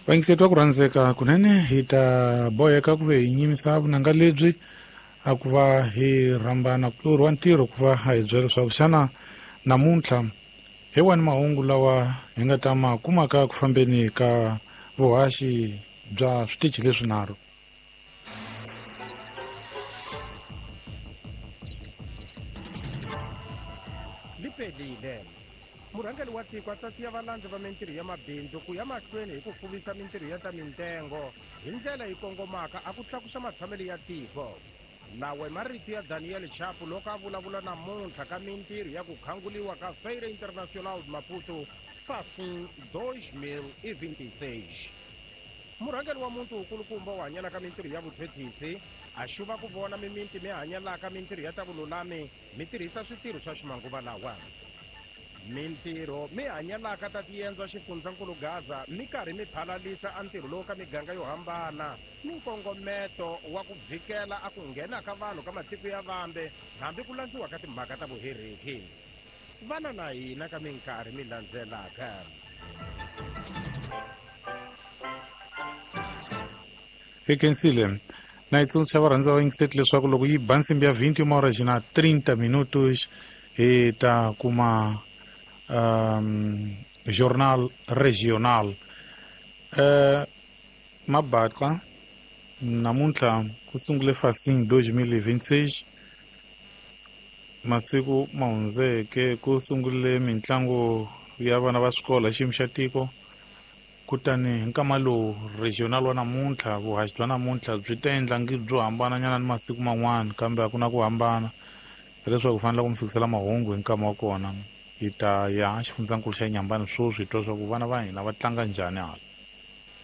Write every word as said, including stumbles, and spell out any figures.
Vayingiseti va ku rhandzeka kunene hi ta boheka ku ve hi nyimisa vunanga lebyi a ku va hi rhambana kulorhi wa ntirho ku va a hi byela leswaku xana namuntlha hi wani mahungu lawa hi nga ta ma kumaka ku fambeni ka vuhaxi bya switichi leswinharhu. Lipelile murhangeri wa tiko a tsatsiya valandzi va mintirho ya mabindzu ku ya mahlweni hi ku fuvisa mintirho ya ta mintengo hi ndlela yi kongomaka a ku tlakusa matshamelo ya tiko. Lawa i marito ya Daniel Chapo loko a vulavula namuntlha ka mintirho ya ku khanguliwa ka Feira Internacional de Maputo Facim dois mil e vinte e seis. Murhangeri wa muti wukulukumba wu hanyelaka mintirho ya vuthethisi a xuva ku vona mimiti mi hanyelaka mintirho ya ta vululami mi tirhisa switirho swa ximanguva lawa. Mintirho mi hanyelaka ta tiendza xifundzankulu Gaza mi karhi mi phalalisa a ntirho lowu ka miganga yo hambana ni nkongometo wa ku vhikela a ku nghena ka vanhu ka matiko ya vambe hambi ku landziwa ka timhaka ta vuhereki. Vana na hina ka minkarhi mi landzelaka. Hi khensile na yi tsundzuxa varhandzi va vayingiseti leswaku loko yi ba nsimbi ya vinte e uma horas na trinta minutos hi ta kuma um, jornal regional. Uh, Mabaka namuntlha ku sungule Facim dois mil e vinte e seis masiku ma hundzeke ku sungule mitlangu ya vana va swikolo hi xiyimo xa tiko. Kutani hi nkama lowu regional wa namuntlha vuhaxi bya namuntlha byi ta endla ngi byo hambananyana ni masiku man'wana kambe a ku na ku hambana hileswaku fanele ku mi fikisela mahungu hi nkama wa kona. Hi ta ya xifundzankulu xa Nyambani sweswi hi twa swa ku vana va hina va tlanga njhani hala.